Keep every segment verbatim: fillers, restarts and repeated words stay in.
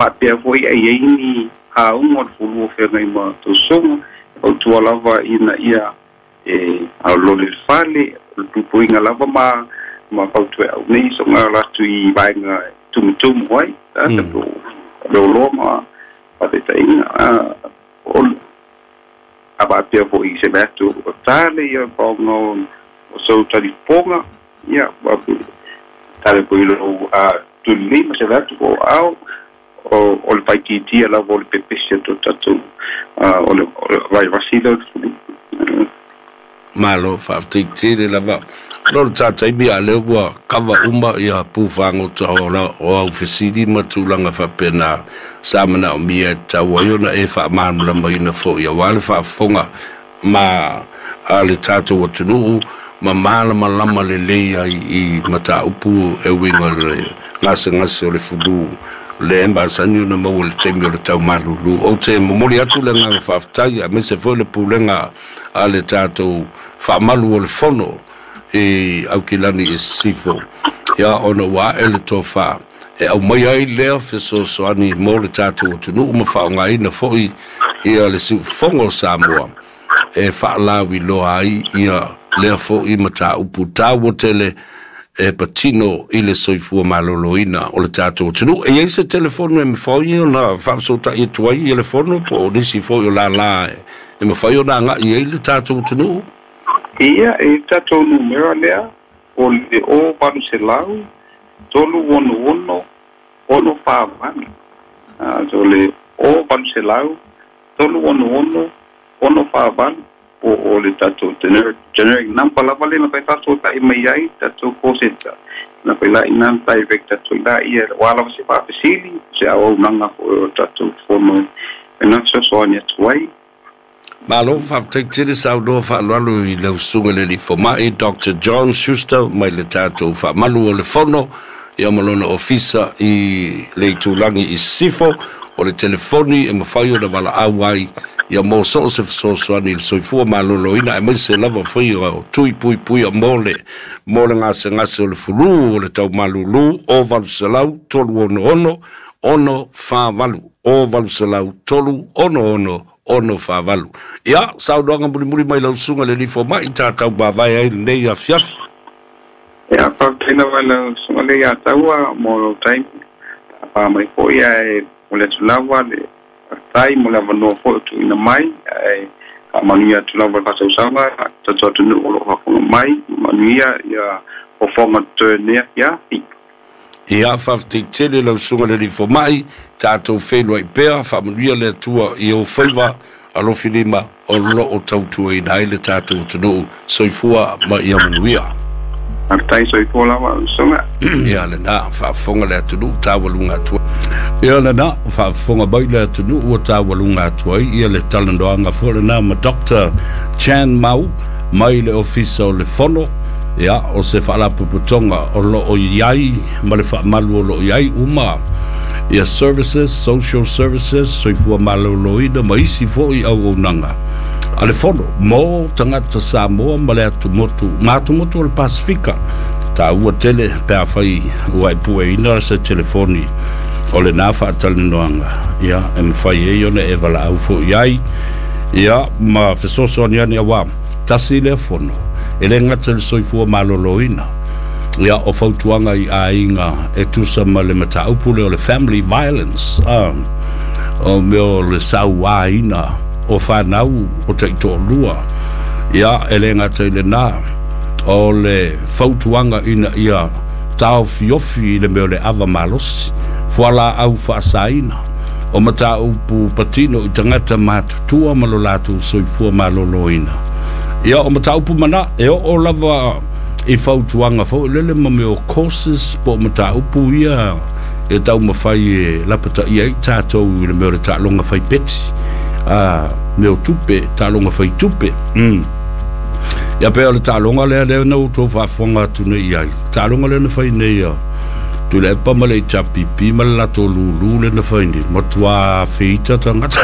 Faapea foi e iai ni auga o le fulu o feagai ma tausoga, e fautua lava ina ia e aolole le fale, o le puipuiga lava ma ma fautueau nei soga o latou i vaega e tumutumu ai tagata po o le oloa ma faataitaiga o a faapea foi se mea atu o tale ia faaaoga o sou talifofoga ia tale foi i lou tulilima se mea atu po o ao o le faitiitia lava o le pepesi atu o tatou o le vaivasi lea o le fulu. Malo faafetai tele lava. O le taimi a lea ua kava uma ia pufagota o au fesili ma tulaga faapena sa manaomia e tatau ai ona e faamalamalamaina foi aua le faafofoga ma a le tatou atunuu ma malamalama lelei ai i mataupu e uiga i le gasegase o le fulu le masani ona maua i le taimi o le taumalulu. Ou te momoli atu le agaga faafetai aemaise foi le pulega a le tatou faamalu o le fono i Aukilani i Sisifo ia ona ua ae le tofa e aumai ai lea fesoasoani mo le tatou atunuu ma faaaogaina foi ia le siufofoga o Samoa e faalauiloa ai ia lea foi mataupu taua tele e patino i le soifua maloloina o le tatou atunuu. E i ai se telefoni e mafai ona faafesootai atu ai ia le fono po o nisi foi o lala e mafai ona agai ai le tatou atunuu? Ia, e tatou numera lea o le o valu selau tolu ono ono ono fa valu. O le o valu selau tolu ono ono ono fa valu po o le tatou generic, generic number lava le na faafesootai mai ai tatou call center. Na fai la ina direct atu i la ia ua lava se faafesili se auaunaga foi o tatou fono e na fesoasoani atu ai. Malo faafetai tele saunoa faaaloalo i lau susuga i le alii fomai Doctor John Schuster mai le tatou faamalu o le fono ia ma lona ofisa i le itulagi i Sisifo. O le telefoni e mafai ona valaau ai ia mo so o se fesoasoani i le soifua maloloina aemaise lava foi o tui puipuia mo le mo le gasegase o le fulu o le taumalulu o valu selau tolu ono ono ono fa valu o valu selau tolu ono ono ono fa valu. Ia, saunoaga mulimuli mai lau susuga i le alii fomai tatau mavae ai lenei afiafi. Ia, faafetai lava i lau susuga le ia taua mo lou taimi pa mai foi ae mo le atu lava le faafetai mo le avanoa foi o tuuina mai ae faamanuia atu lava le faasausaga tatou atunuu o loo faafofoga mai manuia ia fofoga totoe lenei afiafi. Ia, faafetai tele lau susuga i le alii fomai, tatou feiloai pea, faamanuia le Atua i ou faiva alofilima o loo tautuaina ai le tatou atunuu. Soifua ma ia manuia. Faafetai, soifua lava susuga. Ia lena faafofoga le atunuu taualuga atu. Ia lena faafofoga mai le atunuu ua taualuga atu ai ia le talanoaga foi lena ma Doctor Chan Mau mai le ofisa o le fono ia o se faalapotopotoga o loo i ai ma le faamalu o loo i ai uma ia services, social services, soifua maloloina ma isi foi auaunaga a le fono mo tagata Samoa ma le atumotu ma atumotu o le Pasifika. Taua tele pe afai ua e pueina se telefoni o lena faatalanoaga ia e mafai ai ona e valaau foi ai ia ma fesoasoani ane auā tasi lea fono e le gata i le soifua maloloina ia o fautuaga i aiga e tusa ma le mataupu lea o le family violence ah, o mea o le sauāina o fanau o taitoalua ia e le gata i lenā o le fautuaga ina ia taofiofi i le mea o le ava malosi fualaau faasaina o mataupu patino i tagata matutua ma lo latou soifua maloloina ia o mataupu mana e oo lava i fautuaga foi lele ma mea o courses po o mataupu ia e taumafai e lapataia ai tatou i le mea o le taaloga faipeti a mea o tupe taaloga faitupe mm. Ia pe o le taaloga lea lea na outou faafofoga atu nei i ai taaloga lea na fai nei a Tuilaepa ma le H R P P ma le latou lulu le na fai nei matuā feita tagata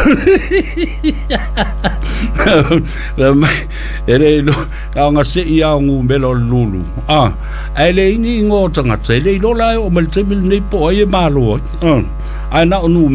e le ilo aoga se'i ao gumela o le lulu a ae leai ni igoa o tagata e le iloa la e oo mai le taimi lenei po o ai e malo ai ae na o numera.